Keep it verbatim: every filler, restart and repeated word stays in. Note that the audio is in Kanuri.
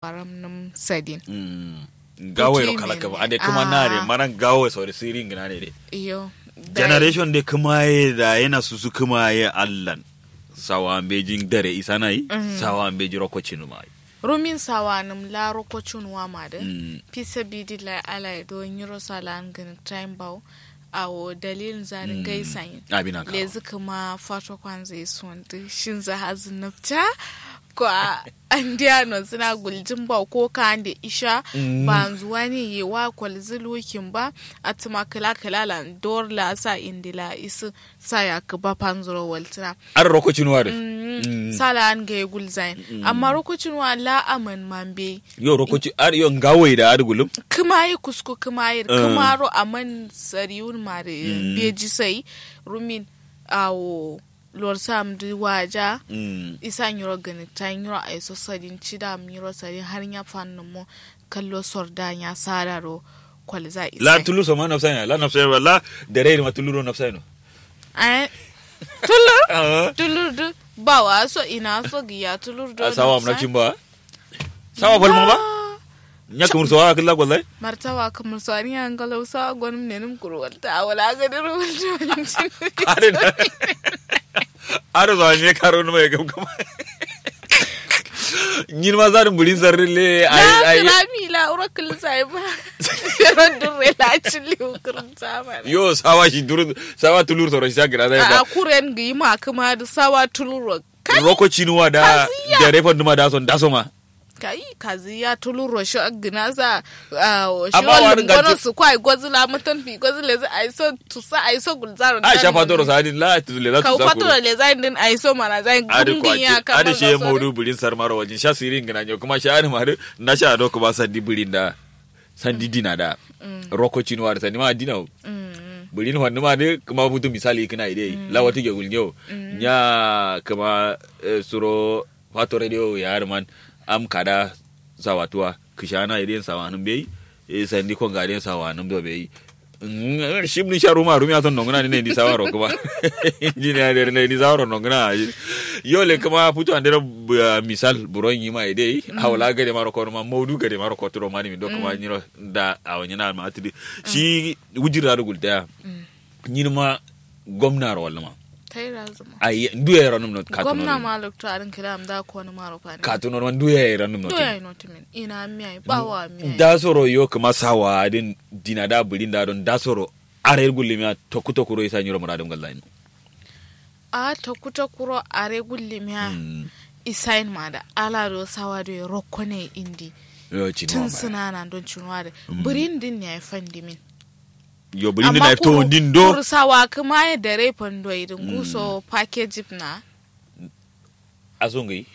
Baram nǝm sadin. Ngawo yero kala kǝma ade kǝma na de mana ngawo ye sori siri ngǝna ne de. Iyo. Generation de kǝma ye da yana susu kǝma ye allan. Sawa mbeji dare isana yi. Sawa mbeji rokocin ma yi. Rumin sawa nǝm la rokocin wa ma de. Fi sabidi lai ala ye do nyiro salan gǝni time bawo. Awo dalilin zari ngai sanyi. Abina ka lezi kǝma fato kwanza ye suwandi shinza hazi nabta. Kwa andiya no zina guljin ba ko ka ande isha. Banzu wani ye wa kwalzi lukin ba. Atuma kǝla kǝla lan dor la sa indi la isi. Sa ya kǝba fanzuro waltina. Ar rokocin wa de. Sala an ga ye gulzain amma rokocin wa la aman mambe. Yo rokoci ar yo ngawai da ar gulum. Kǝma yi kusku kǝma yi kǝma ro aman sariun ma de. Beji sai rumin. Awo lor sam du waja. Isa nyiro gani ta nyiro aiso sadin cida am nyiro sadin har nya fannu mo. Kallo sorda nya sada ro. Kwalza isa la tulur so ma nafsa ina la nafsa ina la. Dare ma tulur ro nafsa ina. Ai tulur. Tulur du. Ba wa so ina so giya tulur do sawa am nafsa. Nafcin ba. Sawa falma ba. Nya kumur so wa killa kwalzai. Martawa kumur so ani an galau sawa gonum ne num kuru walta wala ga diru walta. Adin. Ado so ani karo numa ya gam kama. Nyin ma zadin burin zarri le ai ai. Rami la uro kullu sai ba. Fero durre la cilli ukurun sama. Yo sawa shi durun sawa tulur soro shi sa gira zai ba. A kuren gi ma kuma du sawa tulur ro. Roko cinuwa da. Jare fanduma da son da soma. Kai kazi ya tulur ro shi gina sa. Amma wani gono su kwai gozi la mutan fi gozi lezi aiso tusa aiso gulzaro. A sha fatoro sa din la tuzu leza tusa kuro. Fatoro leza din aiso mana zai gundin ya kama. Adi shi ya maudu burin sarmaro wajin sha sirin gina nyo kuma sha adi madu. Na sha ado kuma sandi burin da sandi dina da. Roko cinuwa da sandi ma dina. Burin fannu ma dai kuma futu misali kina idai la wata ge gulnyo. Nya kuma suro fato radio ya harman. Am kada sawatuwa kishana idai sawanun bai. Sandi konga idai sawanun do bai. Shim ni sha ruma rumi ason nonguna ni ne ndi sawaro kuma. Injiniya dai ne ndi sawaro nonguna. Yo le kuma futu andero misal buron yima idai hawla gade maro kono ma maudu gade maro koturo mani mi do kuma nyiro. Da awo nyina ma atidi shi wujir da gulta ya. Nyinma gomna ro walluma. Ai ndu ya ranum no katuno gomna ma lokto adin kila am da kono maro fani katuno ma ndu ya ranum no. Ina mi ai bawa mi ai da soro yo kuma sawa adin dina da burin da don da soro. Are gullimiya toku toku ro isa nyiro muradum gallai. A toku toku ro are gullimiya. Isain ma da ala do sawa do rokko ne indi. Tun suna na don cunuwa da burin din ne ai fandimin. Yo buri ndi na ifto ndi ndo. Kursawa kuma ye dare fando idin guso package na. Aso ngai.